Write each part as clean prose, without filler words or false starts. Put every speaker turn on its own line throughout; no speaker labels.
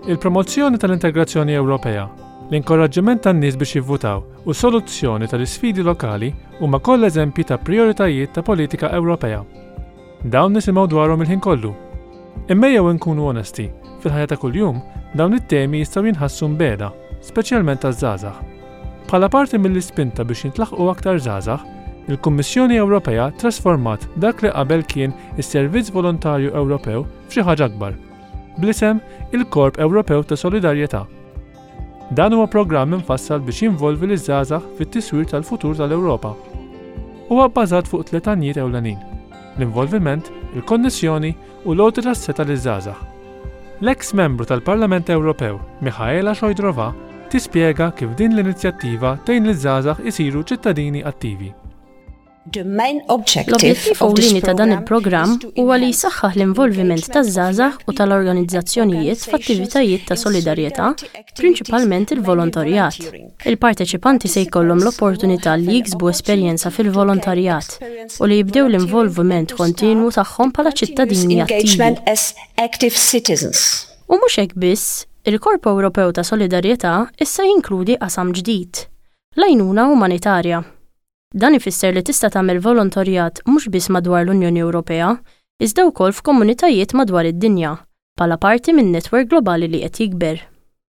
Il-promozzjoni tal-integrazzjoni Ewropea, l-inkoraġġiment tan-nies biex jivvutaw u s-soluzzjoni tal-isfidi lokali huma kollha eżempji ta' prijoritajiet ta' politika Ewropea. Dawn nisimgħu dwarhom il-ħin kollu. Imma ejjew inkunu onesti, fil-ħajja ta' kuljum, dawn it-temi jistgħu jinħassu mbiegħda, speċjalment għaż-żgħażagħ. Bħala parti mill-ispinta biex jintlaħqu aktar żgħażagħ, il-Kummissjoni Ewropea ttrasformat dak li qabel kien is-Servizz Volontarju Ewropew f'xi ħaġa akbar, bl-isem il-Korp Ewropew ta' Solidarjetà. Dan huwa programm imfassal biex jinvolvi liż-żgħażagħ fit-tiswir tal-futur tal-Ewropa. Huwa bbażat fuq tliet għanjiet ewlenin, l-involviment, il-konnessjoni u l-għoti tas-setgħa liż-żgħażagħ. L-eks Membru tal-Parlament Ewropew, Michaela Šojdrová, tispjega kif din l-inizjattiva tgħin liż-żgħażagħ isiru ċittadini attivi.
L-objettiv ewlieni ta' dan il-programm huwa li jsaħħaħ l-involviment taż-żgħażagħ u tal-organizzazzjonijiet f'attivitajiet ta' solidarjetà, prinċipalment il-volontarjat. Il-parteċipanti se jkollhom l-opportunità li jiksbu esperjenza fil-volontarjat u li jibdew l-involviment kontinwu tagħhom bħala ċittadini attivi. U mhux hekk biss, il-Korp Ewropew ta' Solidarjetà issa jinkludi qasam ġdid, l-għajnuna umanitarja. Dan ifisser li tista' tagħmel volontarjat mhux biss madwar l-Unjoni Ewropea, iżda wkoll f'komunitajiet madwar id-dinja, bħala parti minn netwerk globali li qed jikber.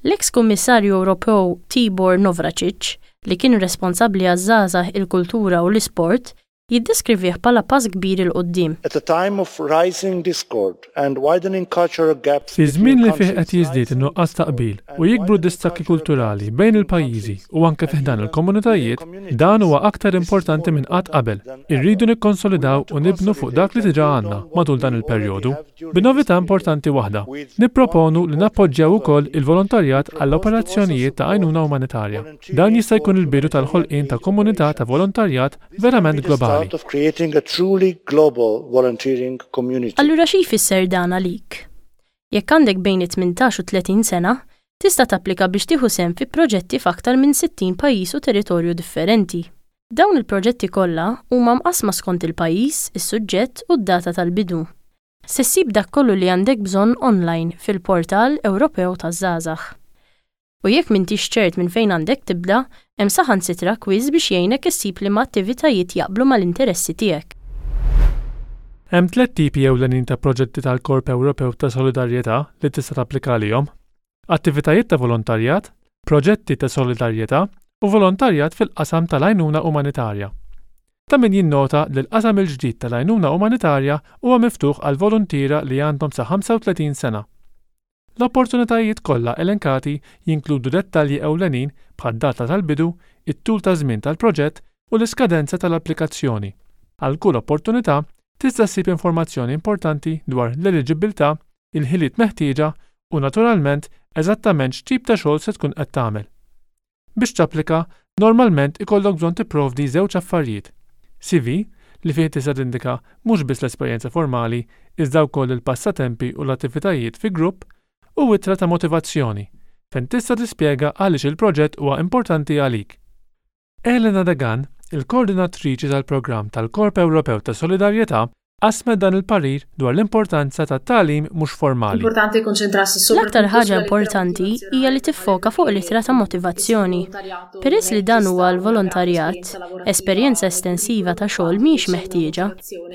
L-eks Kummissarju Ewropew Tibor Navracsics, li kien responsabbli għaż-żgħażagħ, il-kultura u l-isport, jiddeskrivih bħala pass kbir 'il quddiem.
At a time of rising discord and widening cultural gaps
Fi żmien
between
li fih qed
countries,
jiżdied in-nuqqas ta' qbil u jikbru d-distakki kulturali bejn il-pajjiżi u anke fi ħdan il-komunitajiet, dan huwa aktar importanti minn qatt qabel. Irridu nikkonsolidaw u nibnu fuq dak li diġà għandna matul dan il-perjodu. B'novità importanti waħda, nipproponu li nappoġġjaw ukoll il-volontarjat għall-operazzjonijiet ta' għajnuna umanitarja. Dan jista' jkun il-bidu tal-ħolqien ta' komunità ta' volontarjat verament globali.
Allura xi jfisser dan għalik? Jekk għandek bejn it-18 u 30 sena, tista' tapplika biex tieħu sehem fi proġetti f'aktar minn 60 pajjiż u territorju differenti. Dawn il-proġetti kollha huma mqassma skont il-pajjiż, is-suġġett u d-data tal-bidu. Se ssib dak kollu li għandek bżonn online fil-Portal Ewropew taż-Żgħażagħ. U jekk m'intix ċert minn fejn għandek tibda, hemm saħansitra kwiżż biex jgħinek issib liema attivitajiet jaqblu mal-interessi tiegħek.
Hemm tliet tipi ewlenin ta' proġetti tal-Korp Ewropew ta' Solidarjetà li tista' tapplika għalihom, attivitajiet ta' volontarjat, proġetti ta' solidarjetà u volontarjat fil-qasam tal-għajnuna umanitarja. Ta' min jinnota li l-qasam il-ġdid tal-għajnuna umanitarja huwa miftuħ għal voluntiera li għandhom sa 35 sena. L-opportunitajiet kollha elenkati jinkludu dettalji ewlenin bħad-data tal-bidu, it-tul ta' żmien tal-proġett u l-iskadenza tal-applikazzjoni. Għal kull opportunità, tista' ssib informazzjoni importanti dwar l-eliġibbiltà, il-ħiliet meħtieġa u naturalment eżattament x'tip ta' xogħol se tkun qed tagħmel. Biex tapplika, normalment ikollok bżonn tipprovdi żewġ affarijiet, CV, li fih tista' tindika mhux biss l-esperjenza formali iżda wkoll il-passatempi u l-attivitajiet fi grupp, u ittra ta' motivazzjoni, fejn tista' tispjega għaliex il-proġett huwa importanti għalik. Elena Degan, il-koordinatriċi tal-programm tal-Korp Ewropew ta' Solidarjetà, qasmet dan il-parir dwar l-importanza tat-tagħlim mhux formali.
L-aktar ħaġa importanti hija li tiffoka fuq l-ittra ta' motivazzjoni. Peress li dan huwa għall-volontarjat, esperjenza estensiva ta' xogħol mhijiex meħtieġa.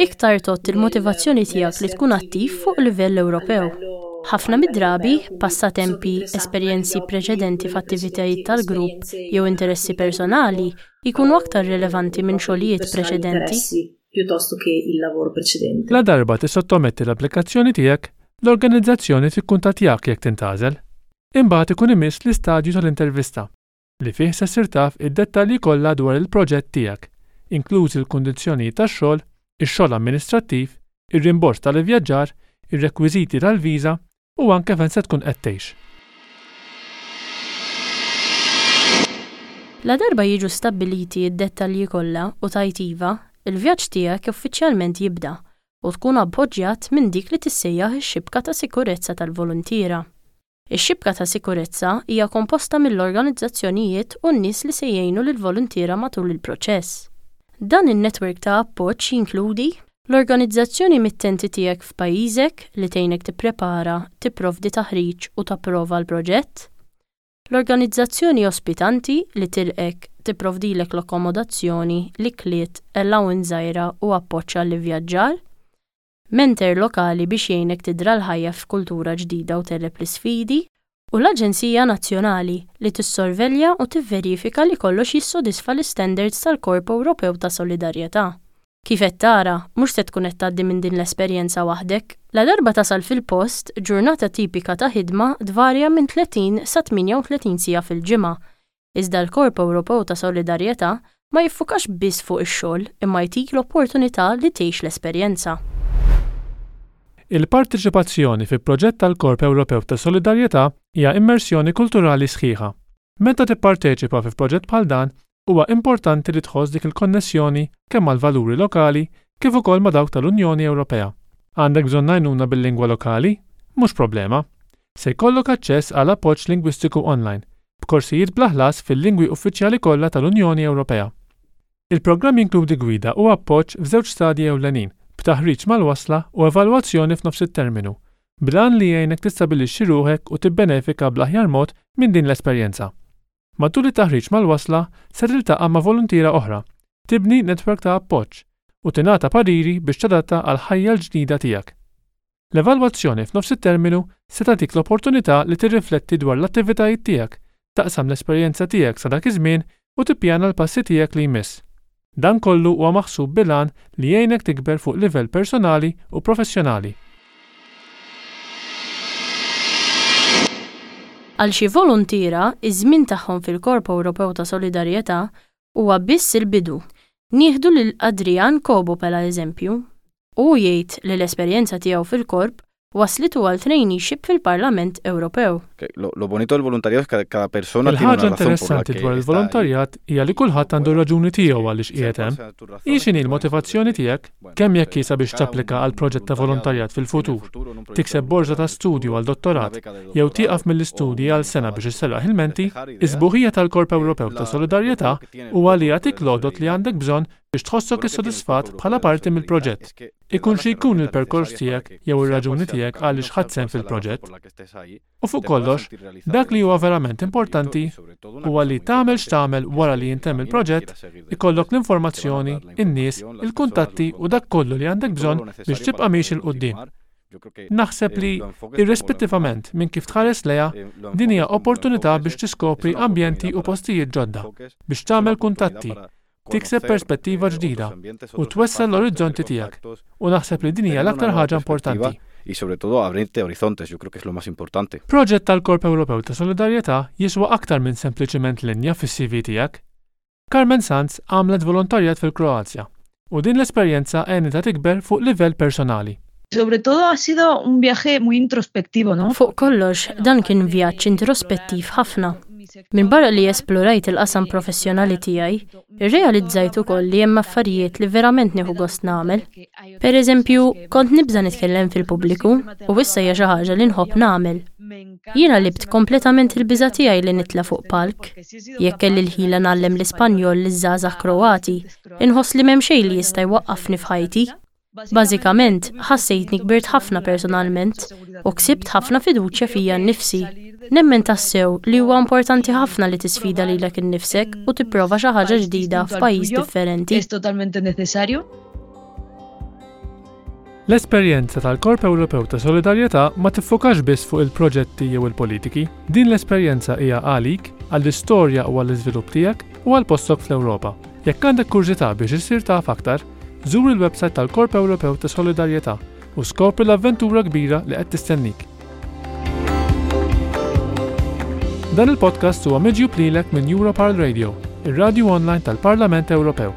Iktar tgħodd il-motivazzjoni tiegħek li tkun attiv fuq livell Ewropew. Ħafna mid-drabi, passatempi, esperjenzi preċedenti f'attivitajiet tal-grupp jew interessi personali jkunu aktar rilevanti minn xogħlijiet preċedenti.
piuttosto che il lavoro precedente.
Ladarba tissottometti l-applikazzjoni tiegħek, l-organizzazzjoni tikkuntattjak jekk tintgħażel. Imbagħad ikun imiss l-istadju tal-intervista, li fih se ssir taf id-dettalji kollha dwar il-proġett tiegħek, inklużi l-kundizzjonijiet tax-xogħol, ix-xogħol amministrattiv, ir-rimborż tal-ivvjaġġar, ir-rekwiżiti tal-viża u anke fejn se tkun qed tgħix.
Ladarba jiġu stabbiliti d-dettalji kollha u tgħid iva, il-vjaġġ tiegħek uffiċjalment jibda u tkun appoġġjat minn dik li tissejjaħ ix-xibka ta' sikurezza tal-voluntiera. Ix-xibka ta' sikurezza hija komposta mill-organizzazzjonijiet u n-nies li se jgħinu lill-voluntiera matul il-proċess. Dan in-netwerk ta' appoġġ jinkludi. L-organizzazzjoni mittenti tiegħek f'pajjiżek li tgħinek tipprepara, tipprovdi taħriġ u tapprova l-proġett. L-organizzazzjoni ospitanti li tilqgħek, tipprovdilek l-akkomodazzjoni, l-ikliet, allowance żgħira u appoġġ għall-ivvjaġġar. Mentor lokali biex jgħinek tidra l-ħajja f'kultura ġdida u tegħleb l-isfidi, u l-Aġenzija Nazzjonali li tissorvelja u tivverifika li kollox jissodisfa l-istandards tal-Korp Ewropew ta' Solidarjetà. Kif qed tara, mhux se tkun qed tgħaddi minn din l-esperjenza waħdek. Ladarba tasal fil-post, ġurnata tipika ta' ħidma tvarja minn 30 sa 38 siegħa fil-ġimgħa, Iżda l-Korp Ewropew ta' Solidarjetà ma jiffukax biss fuq ix-xogħol imma jtik l-opportunità li tgħix l-esperjenza.
Il-parteċipazzjoni fi proġett tal-Korp Ewropew ta' Solidarjetà hija immersjoni kulturali sħiħa. Meta tipparteċipa fi proġett bħal dan, huwa importanti li tħoss dik il-konnessjoni kemm mal-valuri lokali kif ukoll ma' dawk tal-Unjoni Ewropea. Għandek bżonn għajnuna bil-lingwa lokali? Mhux problema. Se jkollok aċċess għal appoġġ lingwistiku online, b'korsijiet bla ħlas fil-lingwi uffiċjali kollha tal-Unjoni Ewropea. Il-programm jinkludi gwida u appoġġ f'żewġ stadji ewlenin, b'taħriġ mal-wasla u evalwazzjoni f'nofs it-terminu, bl-għan li jgħinek tistabbilixxi ruħek u tibbenefika bl-aħjar mod minn din l-esperjenza. Matul it-taħriġ mal-wasla, se tiltaqa' ma' voluntiera oħra, tibni netwerk ta' appoġġ, u tingħata pariri biex tadatta għall-ħajja l-ġdida tiegħek. L-evalwazzjoni f'nofs it-terminu se tagħtik l-opportunità li tirrifletti dwar l-attivitajiet tiegħek, taqsam l-esperjenza tiegħek sa dak iż-żmien u tippjana l-passi tiegħek li jmiss. Dan kollu huwa maħsub bil-għan li jgħinek tikber fuq livell personali u professjonali.
Għal xi voluntiera, iż-żmien tagħhom fil-Korp Ewropew ta' Solidarjetà huwa biss il-bidu. Nieħdu lil Adrian Cobo bħala eżempju. Hu jgħid li l-esperjenza tiegħu fil-Korp wasslitu għal traineeship fil-Parlament Ewropew.
Il-ħaġa interessanti dwar il-volontarjat hija li kulħadd għandu r-raġuni tiegħu għaliex qiegħed hemm. Hi x'inhi l-motivazzjoni tiegħek, kemm jekk hi sabiex tapplika għal proġett ta' volontarjat fil-futur, tikseb borża ta' studju għal dottorat, jew tieqaf mill-istudji għal sena biex isserraħ il-menti, is-sbuħija tal-Korp Ewropew ta' Solidarjetà huwa li jagħtik l-għodod li għandek bżonn biex tħossok issodisfat bħala parti mill-proġett, ikun xi jkun il-perkors tiegħek jew ir-raġuni tiegħek għaliex ħadt sehem fil-proġett. U fuq kollox, dak li huwa verament importanti huwa li tagħmel x'tagħmel wara li jintemm il-proġett, ikollok l-informazzjoni, in-nies, il kuntatti u dak kollu li għandek bżonn biex tibqa' miexi 'l quddiem. Naħseb li, irrispettivament minn kif tħares lejha, din hija opportunità biex tiskopri ambjenti u postijiet ġodda, biex tagħmel kuntatti, tikseb perspettiva ġdida u twessa' l-orizzonti tiegħek, u naħseb li din hija l-aktar ħaġa importanti. Proġett tal-Korp Ewropew ta' Solidarjetà jiswa aktar minn sempliċiment linja fis-CV tiegħek. Carmen Sanz għamlet volontarjat fil-Kroazja u din l-esperjenza għenitha tikber fuq livell personali.
Sobre todo ha sido un viaje muy introspectivo, no?
Fuq kollox, dan kien vjaġġ introspettiv ħafna. Minbarra li esplorajt il-qasam professjonali tiegħi, irrealizzajt ukoll li hemm affarijiet li verament nieħu gost nagħmel. Pereżempju, kont nibża' nitkellem fil-pubbliku u issa hija xi ħaġa li nħobb nagħmel. Jiena għelibt kompletament il-biża' tiegħi li nitla' fuq palk. Jekk kelli l-ħila ngħallem l-Ispanjol liż-żgħażagħ Kroati, inħoss li m'hemm xejn li jista' jwaqqafni f'ħajti. Bażikament, ħassejtni kbirt ħafna personalment u ksibt ħafna fiduċja fija nnifsi. Nemmen tassew li huwa importanti ħafna li tisfida lilek innifsek u tipprova xi ħaġa ġdida f'pajjiż differenti.
L-esperjenza tal-Korp Ewropew ta' Solidarjetà ma tiffokax biss fuq il-proġetti jew il-politiki. Din l-esperjenza hija għalik, għall-istorja u għall-iżvilupp tiegħek u għal postok fl-Ewropa. Jekk għandek kurżità biex issir taf aktar, żur il-websajt tal-Korp Ewropew ta' Solidarjetà u skopri l-avventura kbira li qed tistennik. Dan il-podcast huwa miġjub lilek minn Europarl Radio, ir-radju online tal-Parlament Ewropew.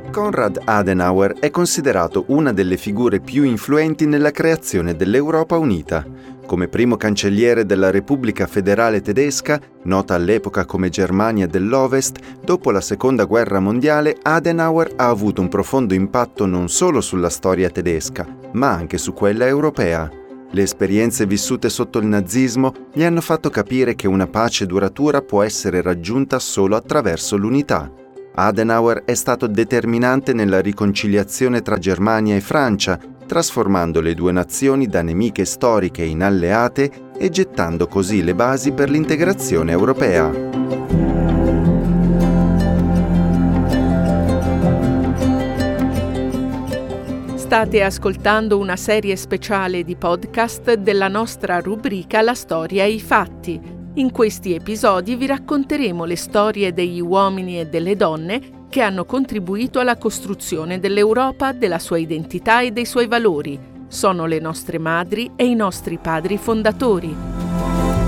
Konrad Adenauer è considerato una delle figure più influenti nella creazione dell'Europa unita. Come primo cancelliere della Repubblica Federale Tedesca, nota all'epoca come Germania dell'Ovest, dopo la Seconda Guerra Mondiale Adenauer ha avuto un profondo impatto non solo sulla storia tedesca, ma anche su quella europea. Le esperienze vissute sotto il nazismo gli hanno fatto capire che una pace duratura può essere raggiunta solo attraverso l'unità. Adenauer è stato determinante nella riconciliazione tra Germania e Francia, trasformando le due nazioni da nemiche storiche in alleate e gettando così le basi per l'integrazione europea.
State ascoltando una serie speciale di podcast della nostra rubrica La storia e i fatti. In questi episodi vi racconteremo le storie degli uomini e delle donne che hanno contribuito alla costruzione dell'Europa, della sua identità e dei suoi valori. Sono le nostre madri e i nostri padri fondatori.